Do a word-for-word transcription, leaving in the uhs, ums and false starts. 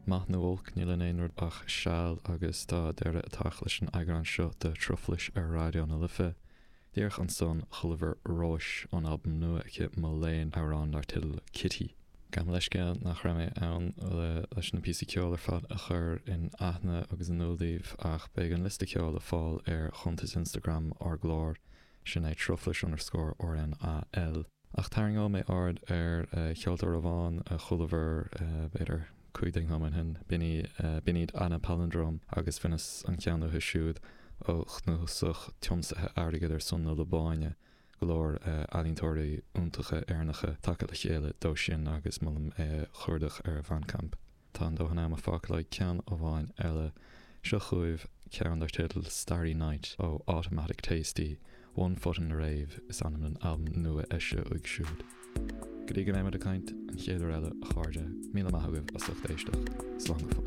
Maith nó olc níl in aon rud ach seal agus tá deireadh ag teacht leis an eagrán seo de Truflais ar Raidió na Life. Díreach ansan chualamar Róis ón albam nua aici Mo Léan amhrán dar teideal Kitty. Gabh mo leithscéal nach raibh mé ann leis na píosaí ceoil ar fad a chur in aithne agus in iúl daoibh ach beidh an liosta ceoil le fáil ar chuntas Instagram ár gclár sin é truflais underscore RNAL. Ach tarraingeoidh mé aird ar cheoltóir amháin a chualamar b'fhéidir cúig déag nóiméad ó shin b'in iad Anna Palindrome agus bhaineas an ceann uathu siúd ó chnuasach tiomsaithe airgid ar son na Liobáine go leor ealaíontóirí iontacha Éireannacha tagtha le chéile dó sin agus molaim é a chuardach ar Bandcamp. Tá an dóthain ama fágtha le ceann amháin eile seo chugaibh ceann dar teideal Starry Night ó Automatic Tasty, One Foot in the Rave is ainm an albam nua eisithe uaidh siúd. Go dtí go mbeimid ag caint an chéad uair eile a chairde, míle maith agaibh as ucht éisteacht, slán go fóill.